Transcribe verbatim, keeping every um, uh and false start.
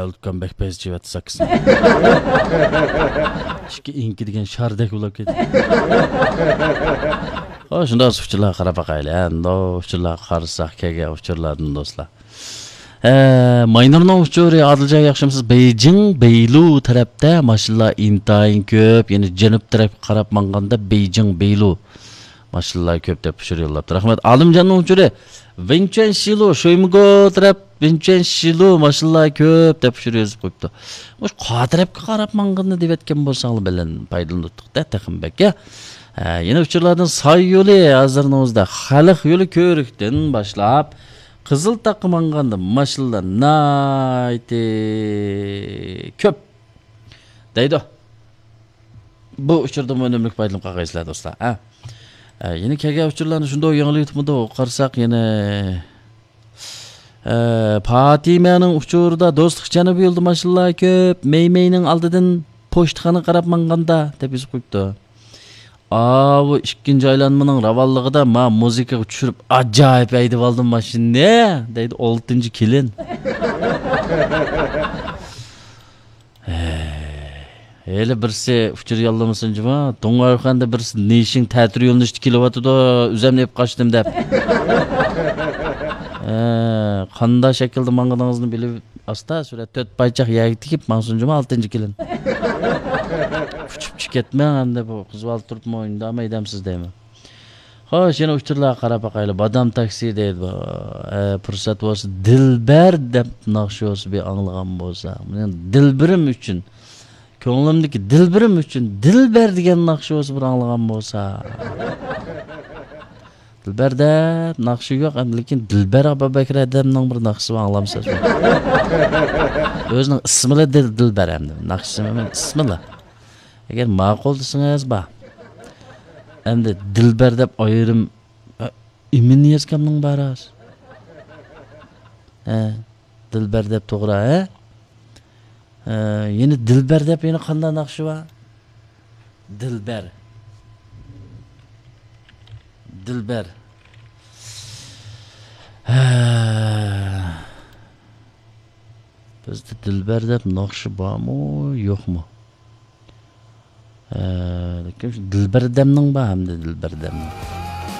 ئەلتۇكان بەك پەس چېۋەتتى ساكىسىنى. ئىككى ئىنكى دېگەن شاردەك بولۇپ كەتتى. ھو، شۇنداق ئۇچۇرلارغا قاراپ باقايلى. ئەمدى ئۇچۇرلارغا قارىساق، كەلگەن ئۇچۇرلاردىن دوستلار. ئە، ماينۇرنىڭ ئۇچۇرى، ئادىلجان ياخشىمۇسىز؟ بېيجىڭ، بېيلۇ تەرەپتە ماشىنىلار ئىنتايىن كۆپ، يەنى جەنۇب تەرەپكە قاراپ ماڭغاندا بېيجىڭ، بېيلۇ ماشىنىلار كۆپ دەپ ئۇچۇر يوللاپتۇ. رەھمەت. ئالىمجاننىڭ ئۇچۇرى، ۋېنچۈەن شىلۇ، شۇيمىگو تەرەپ، ۋېنچۈەن شىلۇ ماشىنىلار كۆپ دەپ ئۇچۇر يېزىپ قويۇپتۇ. مۇشۇ قا تەرەپكە قاراپ ماڭغىنىنى دەۋەتكەن بولساڭلار بىلەن پايدىلىنىپتۇق-دە، تېخىمۇ بەك، يا. ئە، يەنە ئۇچۇرلاردىن ساي يولى ھازىرنىڭ ئۆزىدە خەلق يولى كۆۋرۈكتىن باشلاپ، قىزىلتاغقا ماڭغاندا ماشىنىلار ناھايىتى كۆپ دەيدۇ. بۇ ئۇچۇردىنمۇ ئۈنۈملۈك پايدىلىنىپ قالغايسىلەر، دوستلار. ھە. ئە، يەنە كەلگەن ئۇچۇرلارنى شۇنداق ياڭلىۋېتىپمىدۇ، قارىساق يەنە، ئە، پاتىمەنىڭ ئۇچۇرىدا دوستلۇق جەنۇبىي يولدا ماشىنىلار كۆپ، مەيمەينىڭ ئالدىدىن پوچتىخانىغا قاراپ ماڭغاندا، دەپ يېزىپ قويۇپتۇ. ئاۋۇ ئىككىنچى ئايلانمىنىڭ راۋانلىقىدا ما مۇزىكىغا چۈشۈرۈپ ئاجايىپ ھەيدىۋالدىم ماشىنىنى، دەيدۇ ئالتىنچى كېلىن. ھەي، ھېلى بىرسى ئۇچۇر يوللىمىسۇن جۇما. دۇڭ ئارقاندا بىرسى نىشىڭ تەتۈر يۆنىلىشتە كېلىۋاتىدۇ، ئۆزۈمنى ئېلىپ قاچتىم دەپ. ھە، قانداق شەكىلدە ماڭغىنىڭىزنى بىلىپ، ئاستا سۈرە تۆت پايچاق يەرگە تېگىپ ماڭسۇن جۇما ئالتىنچى كېلىن. ئۇچۇپ چىقىپ كەتمەڭ ئەمدى، بۇ قىز بالا تۇرۇپمۇ ئىنداماي دەمسىز دەيمەن. خوش، يەنە ئۇچۇرلارغا قاراپ باقايلى. بادام تاكسى دەيدۇ. ئە، پۇرسەت بولسا، دىلبەر دەپ ناخشا بولسا بىر ئاڭلىغان بولسا. مېنىڭ دىلبىرىم ئۈچۈن، كۆڭلۈمدىكى دىلبىرىم ئۈچۈن دىلبەر دېگەن ناخشا بولسا بىر ئاڭلىغان بولسا. دىلبەر دەپ ناخشا يوق، ئەمدى لېكىن دىلبەر ئابابەكرى ئادەمنىڭ بىر ناخشىسى بار، ئاڭلامسىز؟ ئۆزىنىڭ ئىسمىلا دىل-، دىلبەر ئەمدى. ناخشىسى ئەمەس، ئىسمىلا. ئەگەر ماقۇل دېسىڭىز، بار. ئەمدى دىلبەر دەپ ئايرىم، ئە، ئىمىن يەزگەمنىڭ بار ھازىر. ھە، دىلبەر دەپ توغرا، ھە؟ ھە، يەنە دىلبەر دەپ يەنە قانداق ناخشا بار؟ دىلبەر. دىلبەر. ھە. بىزدە دىلبەر دەپ ناخشا بارمۇ، يوقمۇ؟ ھە، لېكىن شۇ دىلبەردەمنىڭ بار ئەمدى، دىلبەردەمنىڭ.